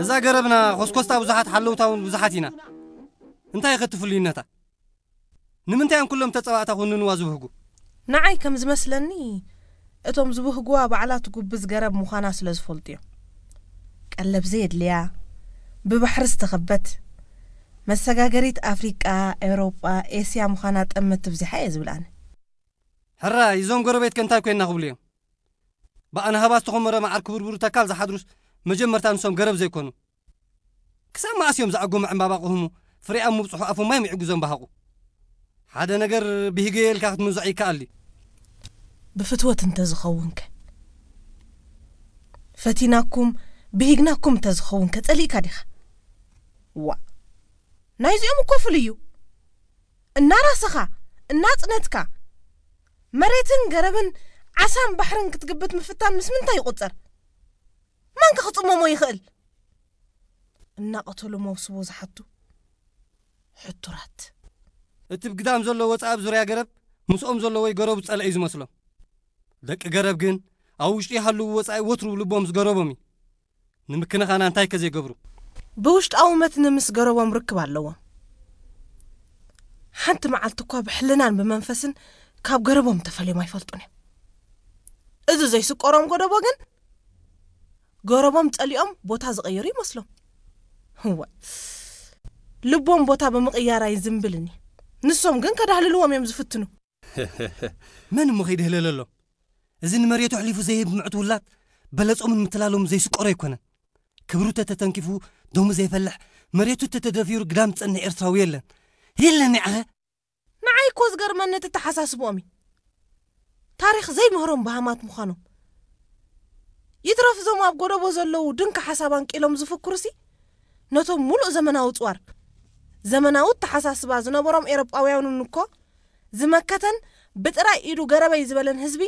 እዛ ገረብና ኾስኮስታ ብዙሓት፣ ሓለውታ እውን ብዙሓት ኢና። እንታይ ኸትፍልዩነታ? ንምንታይ እዮም ኩሎም ተጸባእታ ኩንንዋ ዝብህጉ? ንዓይ ከም ዝመስለኒ፣ እቶም ዝብህጉዋ ባዕላ ትጉብዝ ገረብ ምዃና ስለ ዝፈልጡ እዮም። ቀለብ ዘየድልያ፣ ብባሕሪ ዝተኸበት፣ መሰጋገሪት ኣፍሪቃ፣ ኤውሮጳ፣ ኤስያ ምዃና ጠመት ትብዚሓ እየ ዝብል ኣነ። ሕራይ፣ እዞም ጎረቤትከ እንታይ ኮይና ክብሉ እዮም? ብኣናህባ ዝተኾመረ መዓር ክብርብሩ ተካል ዝሓድሩስ መጀመርታ ንሶም ገረብ ዘይኮኑ? ክሳብ መኣስ እዮም ዝኣጎመ ዕምባባ ቅህሙ፣ ፍሬ ኣብ ምብጽሑ ኣፎም ማይ ምዕጉዞም በሃቑ? ሓደ ነገር ብሂገ ኢልካ ክትምንዝዖ ይከኣል ድዩ? ብፍትወት እንተዝኸውንከ? ፈቲናኩም፣ ብሂግናኩም እንተዝኸውንከ ጸሊእካ ዲኻ? ዋእ! ናይዚኦም እኮ ፍሉይ እዩ። እናራሰኻ፣ እናጽነትካ፣ መሬትን ገረብን ዓሳን ባሕርን ክትግብት ምፍታን ምስ ምንታይ ይቑጸር? ማንከ ክጽመሞ ይኽእል? እናቐተሉ መውስቦ ዝሓቱ ሕቱራት። እቲ ብግዳም ዘሎ ወጻኢ ኣብ ዙርያ ገረብ ምስኦም ዘሎ ወይ ገረቡ ዝጸልአ እዩ ዝመስሎም። ደቂ ገረብ ግን ኣብ ውሽጢ ይሃልዉ ወጻኢ ወትሩ ልቦም ዝገረቦም እዩ። ንምክንኻና እንታይ ከ ዘይገብሩ? ብውሽጣዊ መትኒ ምስ ገረቦም ርክብ ኣለዎም። ሓንቲ መዓልቲ እኳ ብሕልናን ብመንፈስን ካብ ገረቦም ተፈልዮም ኣይፈልጡን እዮም። እዚ ዘይስቆሮም ጎደቦ ግን ገረቦም ጸሊኦም ቦታ ዝቐየሩ ይመስሎም። እወ፣ ልቦም ቦታ ብምቕያር ኣይዝንብልን እዩ። ንሶም ግን ከዳህልልዎም እዮም ዝፍትኑ። መን እሞ ከይድህለለሎም? እዚ ንመሬቱ ኣሕሊፉ ዘይህብ ምዕት ውላድ በለጾምን ምትላሎም ዘይስቆሮ ኣይኮነን። ክብሩ ተተተንኪፉ ደሙ ዘይፈልሕ፣ መሬቱ ተተደፊሩ ግዳም ዝጸንሕ ኤርትራዊ የለን። የለን ይዓኸ። ንዓይ እኮ ዝገርመኒ እቲ ተሓሳስብኦም እዩ። ታሪኽ ዘይምህሮም በሃማት ምዃኖም። ይትረፍ እዞም ኣብ ጎደቦ ዘለዉ ድንኪ ሓሳብ ኣንቂሎም ዝፍክሩሲ፣ ነቶም ሙሉእ ዘመናዊ ጽዋር፣ ዘመናዊ ኣተሓሳስባ ዝነበሮም ኤሮጳውያንን እኮ ዝመከተን ብጥራይ ኢዱ ገረበይ ዝበለን ህዝቢ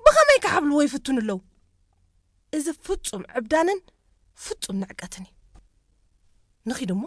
ብኸመይ ክሓብልዎ ይፍትኑ ኣለዉ? እዚ ፍጹም ዕብዳንን ፍጹም ንዕቀትን እዩ። ንኺድ እሞ።